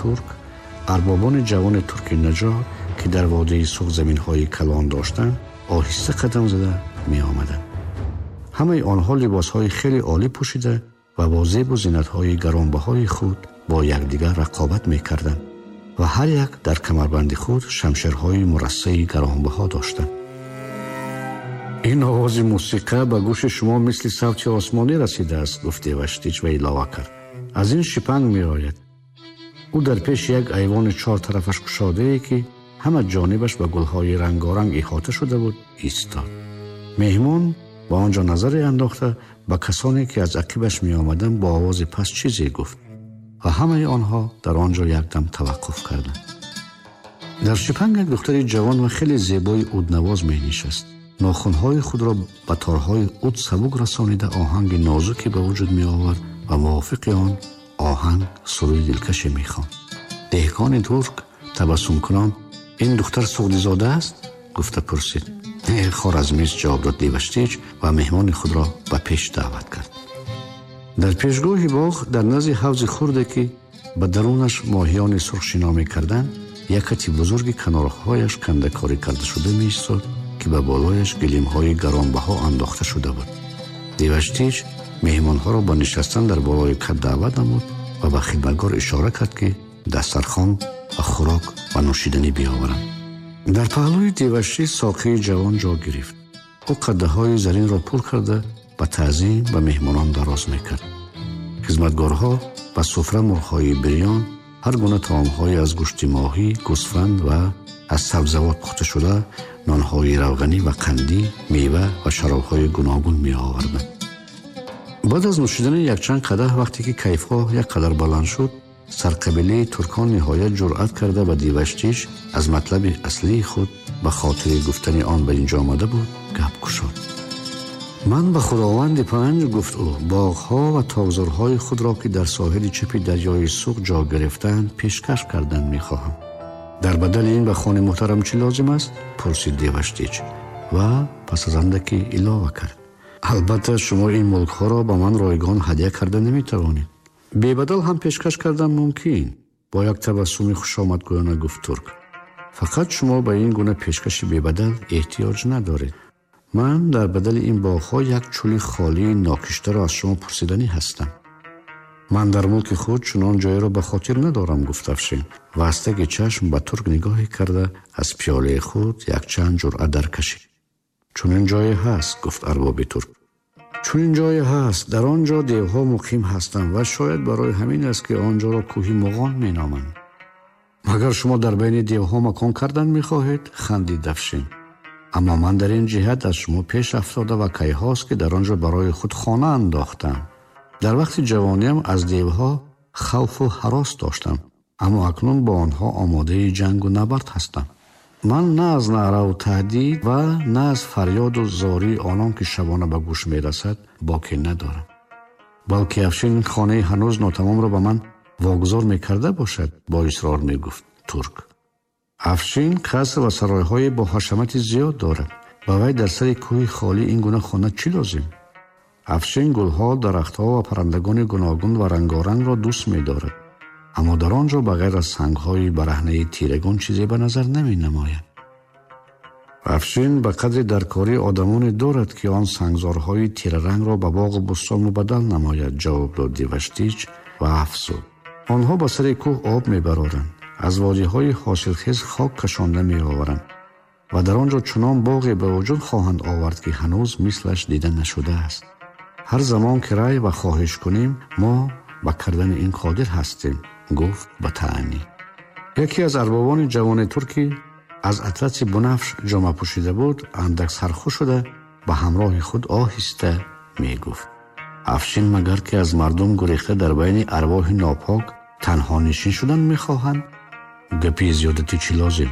турк арбобони ҷавони турки наҷор, ки дар водии Суғд заминҳои калон доштанд, оҳиста қадам зада меомаданд. Ҳамаи онҳо либосҳои хеле олӣ пӯшида ва бо зебу зинатҳои гаронбаҳои худ бо якдигар рақобат мекарданд ва ҳар як дар камарбанди худ шамшерҳои мурассаи гаронбаҳо доштанд. Ин овози мусиқа ба гӯши шумо мисли савти осмонӣ расидааст, гуфт Деваштич ва илова кард. Аз ин шипанг меояд. Ӯ дар пеши як айвони чор тарафаш кушодае, ки ҳама ҷонибаш ба гулҳои рангоранг иҳота шуда буд, истод. Меҳмон ба он ҷо назаре андохта ба касоне, ки аз ақибаш меомаданд, бо овози паст чизе гуфт ва ҳамаи онҳо дар он ҷо якдам таваққуф карданд. Дар шипанг як духтари ҷавон ва хеле зебои уднавоз менишаст. Нохунҳои худро ба торҳои уд сабук расонида оҳанги нозуке ба вуҷуд меовард ва мувофиқи он оҳанг суруди дилкаше мехонд. Деҳқони турк табассумкунон: «Ин духтар суғдизода аст?» гуфта пурсид. «Не, хоразмист», ҷавоб дод Деваштич ва меҳмони худро ба пеш даъват кард. Дар пешгоҳи боғ, дар назди ҳавзи хурде, ки ба дарунаш моҳиёни сурх шино мекарданд, як кати бузурги канорҳояш кандакорӣ карда шуда меистод, ки ба болояш гилемҳои гаронбаҳо андохта шуда буд. Деваштич меҳмонҳоро ба нишастан дар болои кат даъват намуд ва ба хидматгор ишора кард, ки дастархон ва хӯрок ва нӯшиданӣ биёваранд. Дар паҳлӯи Деваштич соқии ҷавон ҷо гирифт. Ӯ қаддаҳои заринро пур карда ба таъзим ба меҳмонон дароз мекард. Хизматгорҳо ба суфра мурғҳои бирён, ҳар гуна таомҳое аз гӯшти моҳӣ, гӯсфанд ва аз сабзавот пухта шуда, нонҳои равғанӣ ва қандӣ, мева ва шаробҳои гуногун меоварданд. Баъд аз нӯшидани якчанд қадаҳ, вақте ки кайфҳо як қадар баланд шуд, сарқабилаи туркон ниҳоят ҷуръат карда ба Деваштич аз матлаби аслии худ, ба хотири гуфтани он ба инҷо омада буд, гап кушод. Ман ба худованди панҷ, гуфт ӯ, боғҳо ва токзорҳои худро, ки дар соҳили чапи дарёи Суғд ҷо гирифтаанд, пешкаш кардан мехоҳам. Дар бадали ин ба хони муҳтарам чӣ лозим аст? Пурсид Деваштич ва пас аз андаке илова кард: албатта, шумо ин мулкҳоро ба ман ройгон ҳадя карда наметавонед. Бебадал ҳам пешкаш кардан мумкин, бо як табассуми хушомадгӯёна гуфт турк. Фақат шумо ба ин гуна пешкаши бебадал эҳтиёҷ надоред. Ман дар бадали ин боғҳо як чӯли холии нокиштаро аз шумо пурсиданӣ ҳастам. Ман дар мулки худ чунон ҷойеро ба хотир надорам, гуфт Афшин ва аз таги чашм ба турк нигоҳе карда аз пиёлаи худ якчанд ҷуръа даркашид. Чунин ҷое ҳаст, гуфт арбоби турк. Чунин ҷое ҳаст, дар он ҷо девҳо муқим ҳастанд ва шояд барои ҳамин аст, ки он ҷоро кӯҳи Муғон меноманд. Магар шумо дар байни девҳо макон кардан мехоҳед? Хандид Афшин. Аммо ман дар ин ҷиҳат аз шумо пеш афтода ва кайҳост, ки дар он ҷо барои худ хона андохтам. Дар вақти ҷавониам аз девҳо хавфу ҳарос доштам, аммо акнун бо онҳо омодаи ҷангу набард ҳастам. Ман на аз наъраву таҳдид ва на аз фарёду зории онон, ки шабона ба гӯш мерасад, боке надорам. Балки Афшин хонаи ҳанӯз нотамомро ба ман вогузор мекарда бошад, бо исрор мегуфт турк. Афшин қаср ва саройҳои бо ҳашамати зиёд дорад. Ба вай дар сари кӯҳи холӣ ин гуна хона чӣ лозим? Афшин гулҳо, дарахтҳо ва паррандагони гуногун ва рангорангро дӯст медорад, аммо дар он ҷо ба ғайр аз сангҳои бараҳнаи тирагон чизе ба назар наменамояд. Афшин ба қадри даркорӣ одамоне дорад, ки он сангзорҳои тирарангро ба боғу бӯстон мубаддал намояд, ҷавоб дод Деваштич ва афзуд: онҳо ба сари кӯҳ об мебароранд, аз водиҳои ҳосилхез хок кашонда меоваранд ва дар он ҷо чунон боғе ба вуҷуд хоҳанд овард, ки ҳанӯз мислаш дида нашудааст. Ҳар замон ки рай ва хоҳиш кунем, мо ба кардани ин қодир ҳастем, гуфт ба таънӣ. Яке аз арбобони ҷавони туркӣ аз атласи бунафш ҷома пӯшида буд, андак сархуш шуда ба ҳамроҳи худ оҳиста мегуфт: Афшин магар ки аз мардум гурехта дар байни арвоҳи нопок танҳонишин шудан мехоҳанд? Гапи зиёдатӣ чӣ лозим?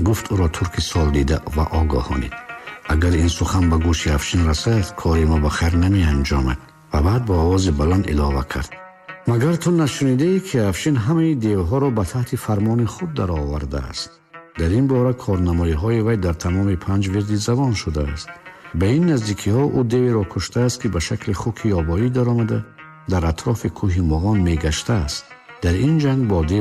Гуфт ӯро турки солдида ва огоҳонид. Агар ин сухан ба гӯши Афшин расад, кори мо ба хайр намеанҷомад. Ва баъд бо овози баланд илова кард: магар ту нашунидаӣ, ки Афшин ҳамаи девҳоро ба таҳти фармони худ даровардааст? Дар ин бора корнамоиҳои вай дар тамоми панҷ вирди забон шудааст. Ба ин наздикиҳо ӯ деверо куштааст, ки ба шакли хуки ёбоӣ даромада дар атрофи кӯҳи Муғон мегаштааст. Дар ин ҷанг бо дев